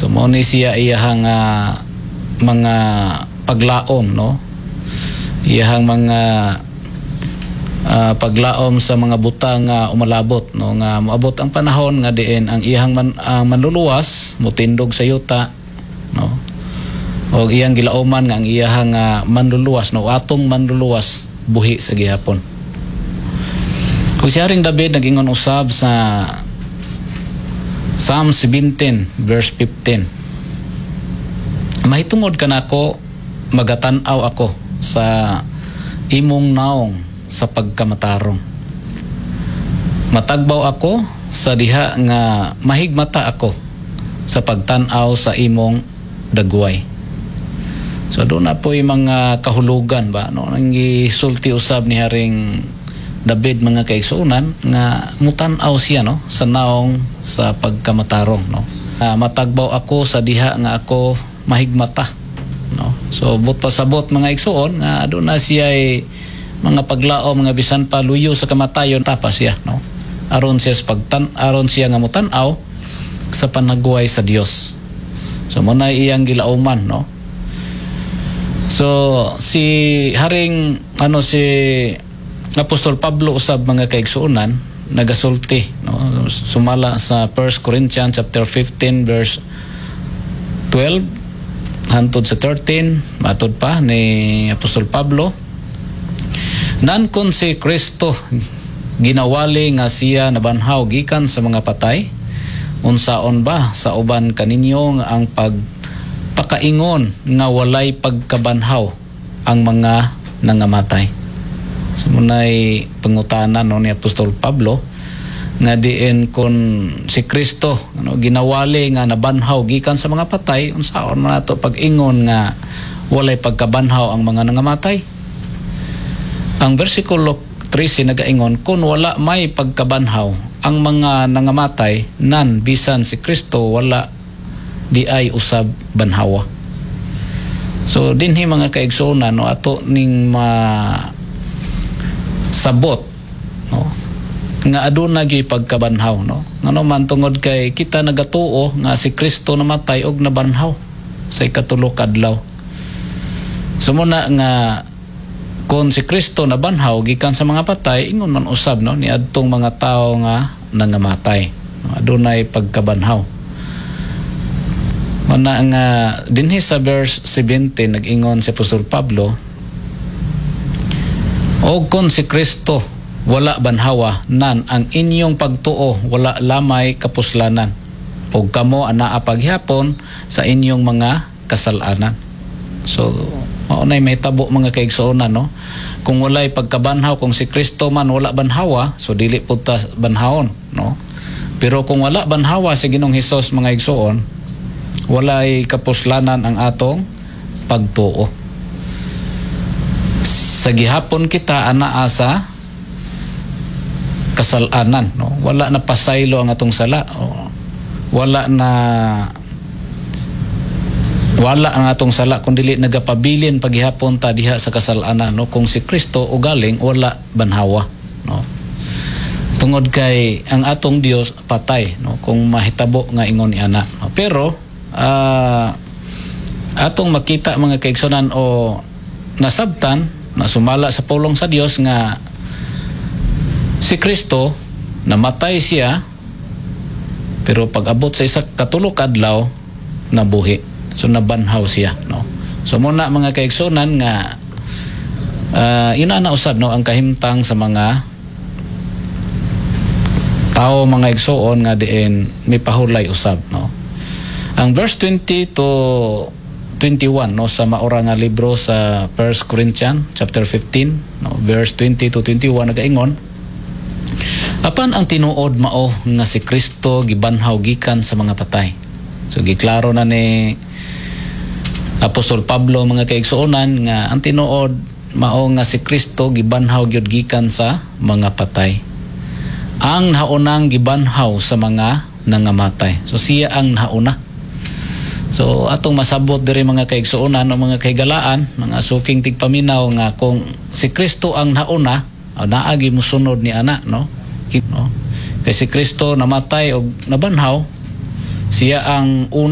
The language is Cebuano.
So mao ni siya iyahang mga paglaom, no? Iyahang mga paglaom sa mga butang nga umalabot, no, nga moabot ang panahon nga diin ang iyahang ang manluluwas motindog sa yuta, no, og iyang gilauman nga ang iyahang manluluwas, no, atong manluluwas buhi sa gihapon. Ug si Haring David nag-ingon usab sa Psalm 17 verse 15, "Mahitungod kanako magatan-aw ako sa imong naong sa pagkamatarong. Matagbaw ako sa diha nga mahigmata ako sa pagtan-aw sa imong dagway." So doon na po yung mga kahulugan ba, no, ang gisulti usab ni Haring David, mga kaigsuonan, nga mutan-aw siya, no, sa naong sa pagkamatarong, no. Matagbaw ako sa diha nga ako mahigmata, no. So buot pasabot, mga igsuon, nga doon na siya ay mga paglao mga bisan pa luyo sa kamatayon tapas siya, no, aron siya nga mutan-aw sa panagway sa Dios. So mo na iyang gilauman, no. So si Haring ano si Apostol Pablo usab, mga kaigsuonan, nagasulti, no, sumala sa 1 Corinthians chapter 15 verse 12 hantod sa 13. Matod pa ni Apostol Pablo, "Nan kon si Kristo ginawali nga siya nabanhaw gikan sa mga patay, unsaon ba sa uban kaninyo nga ang pagpakaingon nga walay pagkabanhaw ang mga nangamatay?" So munay pangutana, no, ni Apostol Pablo nga diin kon si Kristo, ano, ginawali nga nabanhaw gikan sa mga patay, unsaon man nato pag-ingon nga walay pagkabanhaw ang mga nangamatay? Ang versikulo 13 nagaingon, "Kung wala may pagkabanhaw ang mga nangamatay, nan bisan si Kristo wala di ay usab banhawa." So dinhi, mga kaigsuonan, no, ato ning ma sabot, no, nga aduna gyud pagkabanhaw, no, ngano man tungod kay kita nagatuo nga si Kristo namatay og nabanhaw sa ikatulo ka adlaw. So muna nga kung si Kristo nabanhaw gikan sa mga patay, ingon man usab, no, ni adtong mga tawo nga nangamatay, no, adunay pagkabanhaw. Muna nga dinhi sa verse 17 nag-ingon si Apostol Pablo, "Og kung si Kristo wala banhawa, nan ang inyong pagtuo wala lamay kapuslanan ug kamo anaa paghapon sa inyong mga kasalanan." So mao nay mahitabo, mga kaigsuonan, no, kung walay pagkabanhaw, kung si Kristo man wala banhawa, so dili pud ta banhawon, no. Pero kung wala banhawa si Ginoong Hesus, mga igsuon, walay kapuslanan ang atong pagtuo. Sa gihapon kita anaa sa kasalanan, no. Wala na pasaylo ang atong sala. O, wala na wala ang atong sala kung dili nagapabilin paghihapon ta diha sa kasalanan, no, kung si Kristo ugaling wala banhawa, no, tungod kay ang atong Dios patay, no, kung mahitabo nga ingon ni ana, no? Pero atong makita, mga kaigsunan, o nasabtan na sumala sa pulong sa Dios nga si Kristo namatay siya, pero pag abot sa isa katulo ka adlaw nabuhi. So nabanhaw siya, no. So muna, mga kaigsunan, nga ina na usab, no, ang kahimtang sa mga tao, mga igsuon, nga diin mipahulay usab, no. Ang verse 20 to 21, no, sa maura nga libro sa 1 Corinthians chapter 15, no, verse 20 to 21 nagaingon, "Apan ang tinuod mao nga si Kristo gibanhaw gikan sa mga patay." So giklaro na ni Apostol Pablo, mga kaigsuonan, nga ang tinuod mao nga si Kristo gibanhaw gyud gikan sa mga patay. Ang naunang gibanhaw sa mga nangamatay. So siya ang nauna. So atong masabot diri, mga kaigsuonan o mga kahigalaan, mga suking tigpaminaw, nga kung si Kristo ang nauna, o naagi musunod ni ana, no? No? Kay si Kristo namatay og nabanhaw, siya ang una.